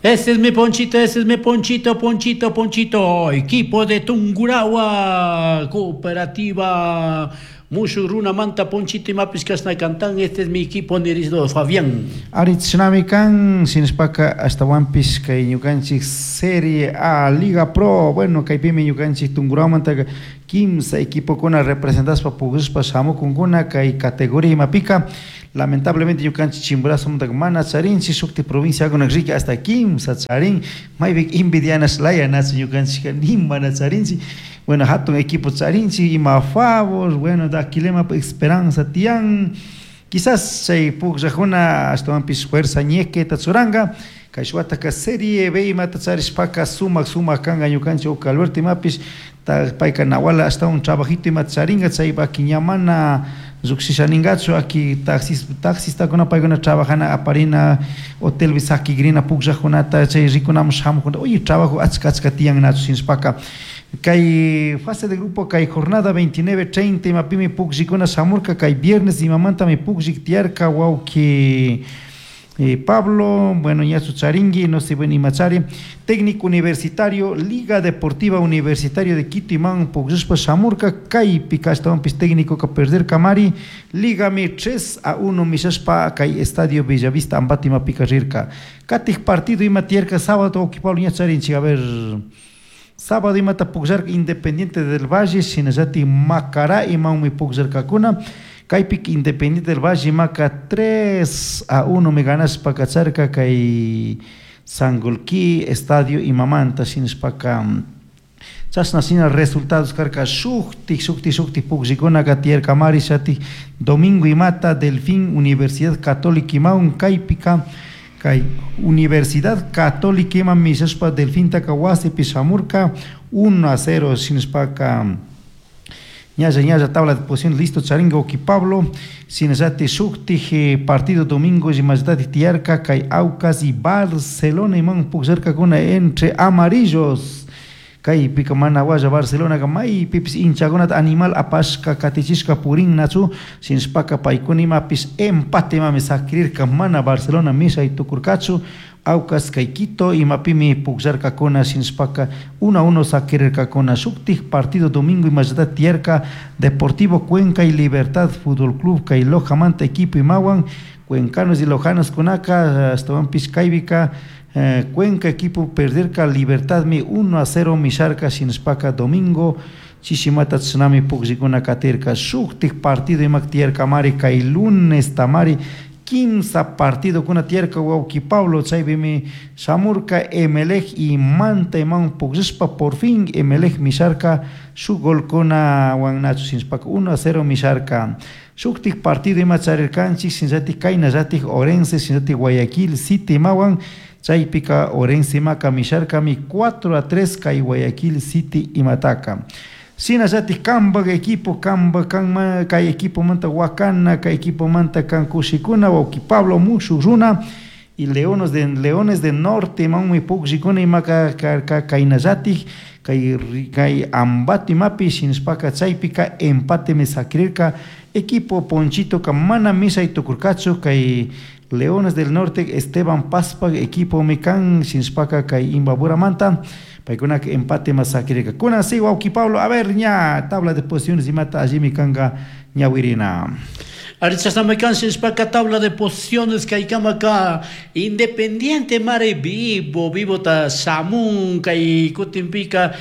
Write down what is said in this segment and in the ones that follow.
Ese es mi Ponchito, ese es mi Ponchito, Ponchito, Ponchito. Equipo de Tungurahua, Cooperativa Mushuj Runamanta Ponchito imapish cashna cantan. Este es mi equipo, nirisdo Fabián. Ari chashnami kan, shinashpaka ashtahuanpish kay ñukanchik Serie A Liga Pro, bueno, kaypimi ñukanchik Tungurahuamantaka kimsa equipokuna representashpa pugllashpa shamukunkuna kay categoría imapika. Lamentablemente ñukanchik Chimborazomantaka mana charinchik, shukti provinciakuna riki hasta kimsa charin, maypika envidianash laya nachu ñukanchikka ni mana charinchik. Bueno, hatun equipo charinchik, ima favor, bueno, Daquilemapak esperanza tiyan. Quizás chay pugllakuna ashtawanpish fuerza ñequeta churanka. Kay wataka Serie B imata charishpaka sumak sumak kanka ñukanchik Oca Alberto imapish payka nawala ashtawan trabajito imata charinka chaypaki ña mana llukshisha ninkachu aki taxis taxistakuna paykuna trabajana aparina hotelpi sakigrina pugllakunata chay rikunamun shamukuna oye trabajo achka achka tiyan nachu shinashpaka kay fase de grupo kay jornada 29 30 imapimi pugllikuna shamurka kay viernes imamantami pugllik tiyarka wawki Pablo, bueno, ñachu charingi, no sé, bueno, imachari, técnico universitario, Liga Deportiva Universitario de Quito, iman pugllashpa shamurka, kaypi ashtawanpish técnico ka perderka mari, Ligami 3-1 mishashpa kay Estadio Bellavista Ambato imapika rirka. Katik partido ima tiyarka sábado, wawki Pablo ña charinchik, a ver, sábado imata pugllarka Independiente del Valle, shinallatik Macará imanmi pugllarkakuna. Kaypik Independiente del Valle maka 3-1 mi ganashpa kacharka kay Sangolquí Estadio imamanta shinashpaka chashna shina resultados karka shuktik shuktik shuktik pugllikunaka tiyarka mari shatik domingo imata Delfín Universidad Católica imawan kaypika kay Universidad Católica ima mishashpa Delfintaka wasipi shamurka 1-0 shinashpaka ñalla ñalla tabla de posición listo charinga wawki Pablo shinallatik shuktik partido domingo imallatatik tiyarka kay Aucas y Barcelona iman pukllarkakuna entre amarillos kaypika mana walla Barcelonaka maypipish hinchakunata animal apashka katichishka purinnachu shinashpaka paykuna imapish empate imami sakirirka mana Barcelona mishay tukurkachu Aucas kay Quito imapimi pukllarkakuna shinashpaka 1-1 sakirirkakuna shuktik partido domingo imallata tiyarka Deportivo Cuenca y Libertad Fútbol Club kay Lojamanta equipo imawan Cuencanos y Lojanos kunaka ashtawanpish kaypika Cuenca equipo perderka Libertad mi 1-0 misharka shinashpaka domingo chishimata chashnami pukllikuna katirka shuktik partido imak tiyarka mari kay lunes tamari kimsa partido kuna tiyarka wawki Pablo chaypimi shamurka Emelec y Manta iman pukllashpa por fin Emelec misharka shuk golkunawan nachu shinashpaka 1-0 misharka shuktik partido ima charirkanchik shinallatik kaynallatik Orense shinallatik Guayaquil City imawan chaypika Orense imaka misharkami 4-3 kay Guayaquil City imataka shinallatik kanpak equipo kanpak kanma kay equipomanta Wakana kay equipomanta kan kushikuna wawki Pablo mushuk runa y Leones de Norte imanmi pukllikuna imaka karka kaynallatik kay kay Ambato imapi shinashpaka chaypika empatemi sakirirka equipo Ponchitoka mana mishay tukurkachu kay Leones del Norte Esteban Pazpak equipomi kan shinashpaka kay Imbaburamanta paykunaka empate ma sakirirka kunan si wawki Pablo a ver ña tabla de posiciones imata allimi kanka ñawirina. Ari chashnami kan shinashpaka tabla de posiciones kaykamaka Independiente mare vivo vivota shamun kay kutinpika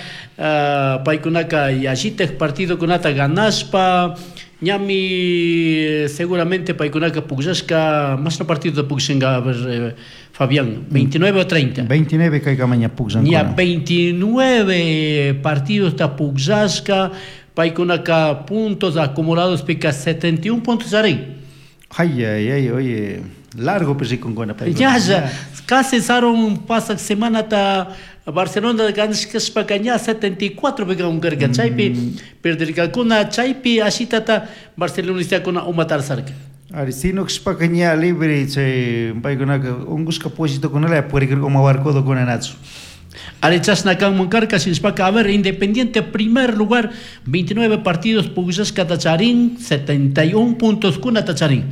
paykunaka yallitak partidokunata ganashpa ñami seguramente paykunaka pukllashka mashna partido pukllanka a ver Fabián 29 o 30 29 kaykama ña pukllankuna ña 29 partidos ta pukllashka paykunaka puntos acumulados pika 71 puntos charin. Ay, ay, ay, oye, largo rikunkuna paykuna. Ñalla, casi sarun pasak semanata Barcelona ganashkashpaka ña 74 pika unkarka chaypi perdirkakuna chaypi ashitata barcelonistakuna umatarsarka. Ari, sino kashpaka ña libre chay paykunaka unkushka pollitokunala purikirka uma barcodokuna nachu. Ari chashna kanman karka shinashpaka a ver Independiente primer lugar 29 partidos pukllashkata charin 71 puntos kunata charin.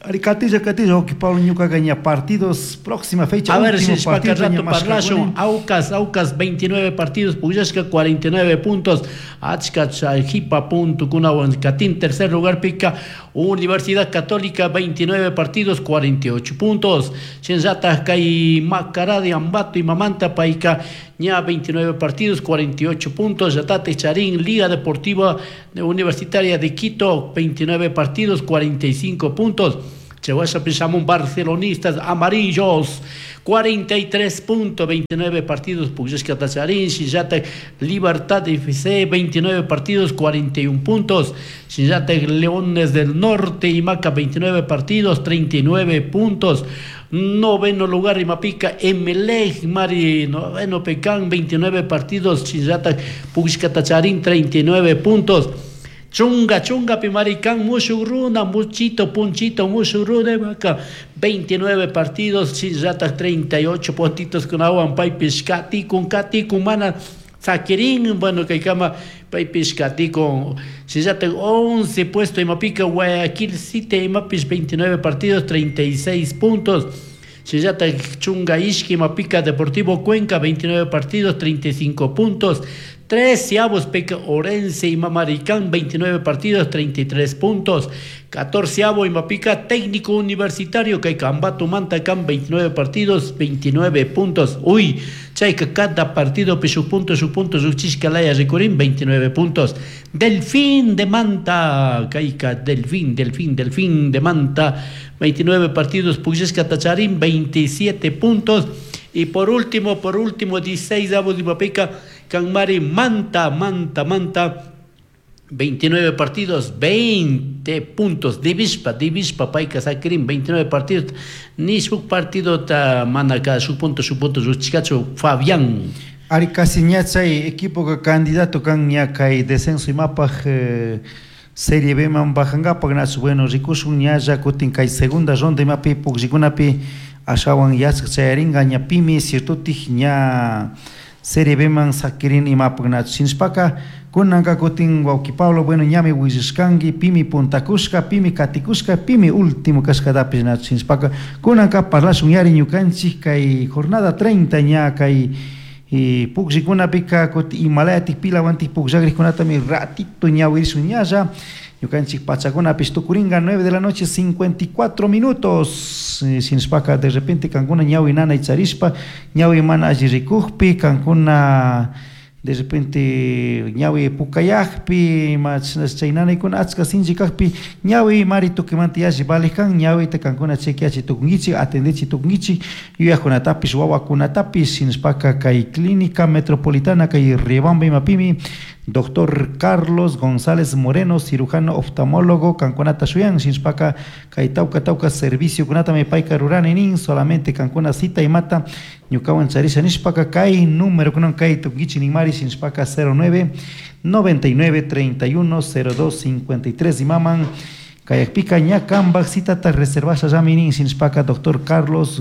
Ari katilla katilla wawki Pablo ñukaqa ña partidos próxima fecha A ver, último si partido rato ña parlashun. mashkakuni. Aucas, Aucas, 29 partidos, Pugllashka 49 puntos. Achka Jipa punto kunawan Katin, tercer lugar pica. Universidad Católica, 29 partidos, 48 puntos. Shinllata kay Macará de Ambato y Mamanta Paica, ña 29 partidos, 48 puntos. Yatate Charín, Liga Deportiva Universitaria de Quito, 29 partidos, 45 puntos. Chihuahua Pisamón, barcelonistas amarillos, 43.29 partidos, Pugllashka Tacharín, Shinllata Libertad FC, 29 partidos, 41 puntos, Shinllata Leones del Norte y Maca, 29 partidos, 39 puntos, noveno lugar Imapica, Emelec, Mari, noveno Pecán, 29 partidos, Shinllata Pugllashka Tacharín, 39 puntos. Chunga, chunga, pimaricán, mushuruna, muchito, punchito, mushuruna, vaca. 29 partidos, Shinllata 38 puntitos con agua, paipis, katikun, katikun, mana, saquirín, bueno, que cama, paipis, katikun, Shinllata 11 puesto, Imapica, Guayaquil City, Imapis, 29 partidos, 36 puntos. Shinllata Chunga Ishki, Mapica Deportivo Cuenca, 29 partidos, 35 puntos. Treceavos Peca Orense y Mamaricán, 29 partidos, 33 puntos. Catorceavo y Mapica Técnico Universitario, Caicambato Mantacán, 29 partidos, 29 puntos. Uy, Chayca, cada partido, su punto, su punto, su chiscalaya, Ricurín, 29 puntos. Delfín de Manta, Caica, Delfín, Delfín, Delfín de Manta, 29 partidos, Puyesca Tacharín, 27 puntos. Y por último, 16 avos de Mapica, Canmari, Manta, Manta, Manta, 29 partidos, 20 puntos. Divispa, Divispa, Paica, Saquirín, 29 partidos. Ni su partido ta manaka, su punto, su punto, su chicacho, Fabián. Ari casi ña chay equipo candidato kan ña kay descenso imapaj Serie B man bajangapak nachu bueno rikushun ñalla kutin kay segunda ronda imapi pukllikunapi ashawan yachak chayaringa ña pimi ciertotik ña Serie B man sakirin imapak nachu shinashpaka kunanka kutin wawki Pablo bueno ñami willashkanki pimi puntakushka pimi katikushka pimi último kashkatapish nachu shinashpaka kunanka parlashun yari ñukanchik kay jornada 30 ña kay pukllikunapi kutin imalayatik pilawantik pukllakrikunatami ratito ñawirishun ñalla ñukanchik pachakunapish tukuringa 9 de la noche 54 minutos shinashpaka de repente kankuna ñawi nanay charishpa ñawi mana alli rikukpi kankuna de repente ñawi pukayakpi ima chay nanaykuna achka sinchi kakpi ñawi mari tukimanta yalli valej kan ñawita kankuna chequeachi tukunkichik atendechi tukunkichik yuyajkunatapish wawakunatapish shinashpaka kay clínica metropolitana kay Riobamba imapimi Doctor Carlos González Moreno, cirujano oftalmólogo, kankunata shuyan, shinashpaka kay tawka tawka servicio kunatami payka rurani nin, solamente kankuna cita imata ñukawan charisha nishpaka kay número kunan kay tukunkichik ninmari shinashpaka 09 99 31 02 53 imaman kayakpika ña kanpak citata reservasha llami nin shinashpaka Doctor Carlos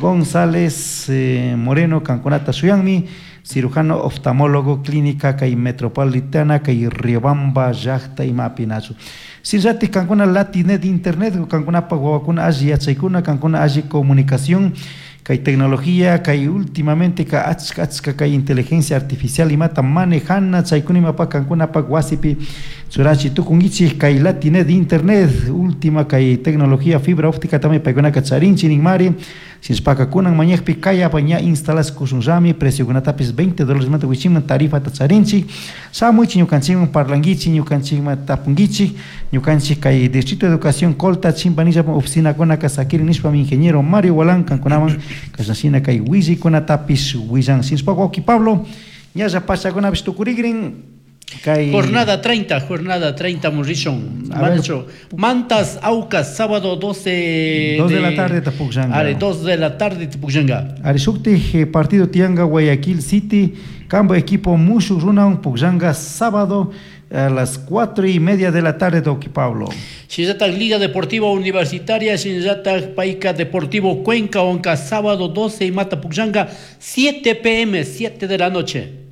González Moreno kankunata shuyanmi, cirujano oftalmólogo clínica kay metropolitana kay Riobamba llaqta imapi nachu. Shinllatik kankuna latinet internet kankunapa wawakuna alli yachaykuna kankuna alli comunicación kay tecnología kay últimamente ka achka achka kay inteligencia artificial imata manejana chaykuna imapa kankunapak wasipi churachi tukunkichik kay latinet internet última kay tecnología fibra óptica también paykunaka charinchi ninmari shinashpaka kunan mañakpi kayapa ña instalash kushunllami preciokunatapis $20 manta wichiman tarifata charinchik shamuichik ñukanchikman parlankichik ñukanchikman tapunkichik ñukanchik kay Distrito de Educación Colta Chimpanillapa oficinakunaka sakirin nishpami ingeniero Mario Gualán kankunaman kashnashina kay willaykunatapish willan shinashpaka wawki Pablo ñalla pachakunapish tukurikrin kay Jornada 30, jornada 30, Morrison. Mancho. Mantas, Aucas, sábado 12 2 de la tarde Tepukllanga. Are, 2 de la tarde Tepukllanga. Are, shuktik partido tianga Guayaquil City, campo equipo Mushu Runaun Pukllanga, sábado a las 4:30 de la tarde, Doki Pablo. Shinllata Liga Deportiva Universitaria, Shinllata Paica Deportivo Cuenca, Onca, sábado 12 y Mata Pukllanga, 7 p.m., 7 de la noche.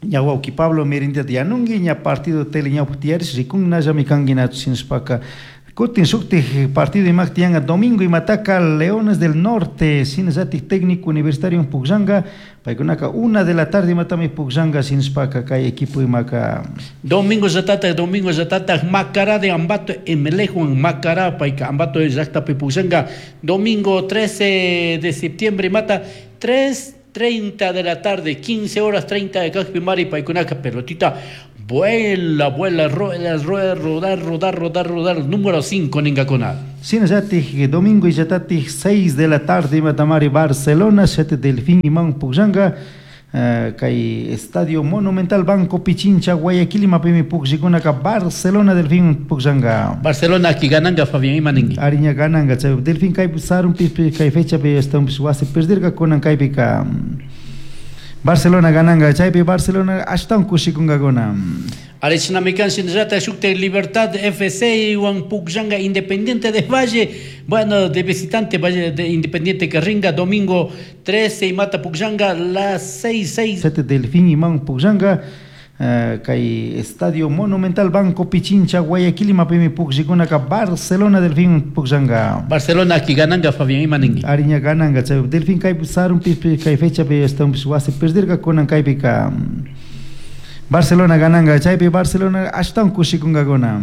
Ña wawki Pablo mirindiata yanunki, ña partido tele ñawpak tiyaris, rikunna llami kanki nachu shinashpaka Kutin shuktik partido imak tiyanga domingo imataka Leones del Norte shinallatik Técnico Universitario pukllanga, paykunaka 1 de la tarde imatami pukllanga, shinashpaka kay equipo imaka. Domingo llatatak Macará de Ambato Emelec-huan, Macará payka Ambato llaktapi pukllanga domingo 13 de septiembre imata 3:30 de la tarde, 15 horas 30 de kakpimari paykunaka pelotita vuela, vuela, rueda, rueda, rodar, rodar, rodar, rodar, número 5 ninkakuna. Shinallatik domingo illatatik 6 de la tarde imatamari Barcelona 7 Delfín iman pukllanga, kay Estadio Monumental Banco Pichincha Guayaquil imapimi pukllikunaqa Barcelona Delfín pukllanga. Barcelona aki gananga, Fabián, ima ninki? Ariña gananga, chay Delfín kaypi sarunpi kay fechapi estampis wasi perdirka, kunan kaypika Barcelona gananga, chaypi Barcelona ashtawan kushikunkakuna. Arechnami kan. Shinallata shukta Libertad FC wan pukllanga Independiente de Valle. Bueno, de visitante Valle de Independiente Carringa, domingo 13 imata pukllanga las 6, 6. 7 Delfín iman pukllanga, kay Estadio Monumental Banco Pichincha Guayaquil imapimi pukllikunaqa Barcelona Delfín pukllanga. Barcelona aki gananga, Fabián, ima ninki? Ariña gananga, chay Delfín kaypi sarunpi kay fechapi estampis wasi perdirka, kunan kaypika Barcelona gananga, chaypi Barcelona ashtawan kushikunkakuna.